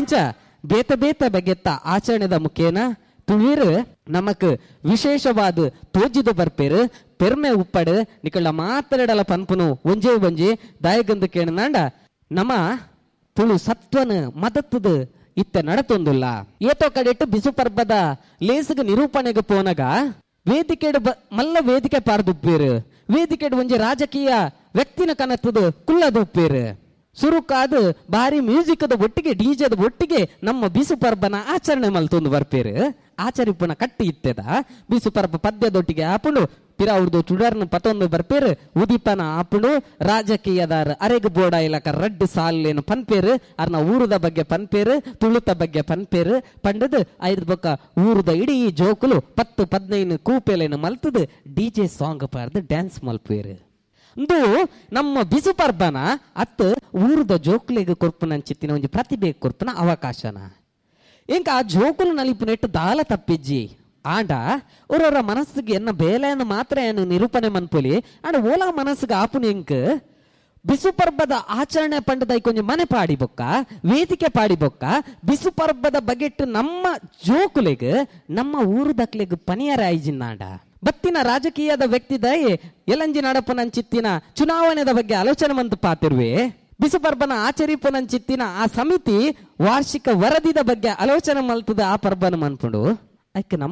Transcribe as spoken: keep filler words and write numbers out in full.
ಇಂಚ ಬೇತ ಬೇತ ಬಗೆತ್ತ ಆಚರಣೆದ ಮುಖೇನ ತುಳುವೆರ್ ನಮಕ್ ವಿಶೇಷವಾದ ತೋಜಿದ ಬರ್ಪೇರು. ಪೆರ್ಮೆ ಉಪ್ಪಡು ನಿಕಳ ಮಾತರೆಡಲ ಪನ್ಪುನು ಒಂಜೇ ಒಂಜಿ ದಾಯಗಂದು ಕೇಣನಾಂಡ ನಮ ತುಳು ಸತ್ವನ ಮದತ್ತದ ಇತ್ತೆ ನಡತೊಂದುಲ್ಲ. ಏತೋ ಕಡೆಟ್ ಬಿಸು ಪರ್ಬದ ಲೇಸುಗ ನಿರೂಪಣೆಗೆ ಪೋನಗ ವೇದಿಕೆಡ್ ಮಲ್ಲ ವೇದಿಕೆ ಪಾರ್ದುಪ್ಪೇರು. ವೇದಿಕೆಡ್ ಒಂಜಿ ರಾಜಕೀಯ ವ್ಯಕ್ತಿನ ಕನತ್ತದ ಕುಲ್ಲದ ಉಪ್ಪೇರು. ಸುರುಕಾದ ಬಾರಿ ಮ್ಯೂಸಿಕ್ದ ಒಟ್ಟಿಗೆ ಡಿಜೆದ ಒಟ್ಟಿಗೆ ನಮ್ಮ ಬಿಸು ಪರ್ಬನ ಆಚರಣೆ ಮಲ್ತೊಂದು ಬರ್ಪೇರು. ಆಚರಿಪುನ ಕಟ್ಟಿ ಇತ್ತೆದ ಬಿಸು ಪರ್ಬ ಪದ್ಯದೊಟ್ಟಿಗೆ ಆಪುಂಡು. ಪಿರಾವುರ್ದು ಚುಡರ್ನ ಪತೊಂದು ಬರ್ಪೇರು. ಉದಿಪನ ಆಪುಂಡು. ರಾಜಕೀಯದಾರ ಅರೆಗ್ ಬೋಡ ಇಲಕ ರಡ್ಡು ಸಾಲೇನು ಪನ್ಪೇರು. ಅರ್ನ ಊರುದ ಬಗ್ಗೆ ಪನ್ಪೇರು, ತುಳುತ ಬಗ್ಗೆ ಪನ್ಪೇರು. ಪಂಡದು ಐದು ಬೊಕ್ಕ ಊರುದ ಇಡೀ ಜೋಕುಲು ಪತ್ತು ಪದ್ನೈನು ಕೂಪೆಲೇನು ಮಲ್ತದು ಡಿಜೆ ಸಾಂಗ್ ಪಾರ್ದು ಡ್ಯಾನ್ಸ್ ಮಲ್ಪೇರು. ಇಂದು ನಮ್ಮ ಬಿಸು ಪರ್ಬನ ಅತ್ತು ಊರುದ ಜೋಕುಲೆಗ್ ಕೊರ್ಪುನಂಚಿತ್ತಿನ ಒಂಜಿ ಪ್ರತಿಭೆ ಕೊರ್ಪುನ ಅವಕಾಶನ. ಇಂಕ ಆ ಜೋಕುಲು ನಲಿಪುನೆಟ್ಟು ದಾಲ ತಪ್ಪಿಜ್ಜಿ. ಆಂಡ ಒರೊರ ಮನಸ್ಸಿಗೆ ಎನ್ನ ಬೇಲೆಯನ್ನು ಮಾತ್ರ ಏನು ನಿರೂಪಣೆ ಮನ್ಪುಲಿ. ಆಂಡ ಓಲಾ ಮನಸ್ಸಿಗೆ ಆಪುನ ಇಂಕ್ ಬಿಸು ಪರ್ಬದ ಆಚರಣೆ ಪಂಡದ ಕೊಂಚ ಮನೆ ಪಾಡಿ ಬೊಕ್ಕ ವೇದಿಕೆ ಪಾಡಿ ಬೊಕ್ಕ ಬಿಸು ಪರ್ಬದ ಬಗೆಟ್ಟು ನಮ್ಮ ಜೋಕುಲೆಗ್ ನಮ್ಮ ಊರುದಕ್ಲೆಗ್ ಪನಿಯರ ಆಯ್ಜಿನ್ನಾಂಡ ಬತ್ತಿನ ರಾಜಕೀಯದ ವ್ಯಕ್ತಿ ದಯೆ ಎಲಂಜಿ ನಡಪುನಂಚಿತ್ತಿನ ಚುನಾವಣೆದ ಬಗ್ಗೆ ಆಲೋಚನೆ ಮಂತು ಪಾತಿರುವೆ. ಬಿಸು ಪರ್ಬನ ಆಚರಿಪುನಂಚಿತ್ತಿನ ಆ ಸಮಿತಿ ವಾರ್ಷಿಕ ವರದಿದ ಬಗ್ಗೆ ಆಲೋಚನೆ ಮಲ್ತದ ಆ ಪರ್ಬನ ಮನ್ಪುಂಡು. ಐಕ್ ನಮ್ಮ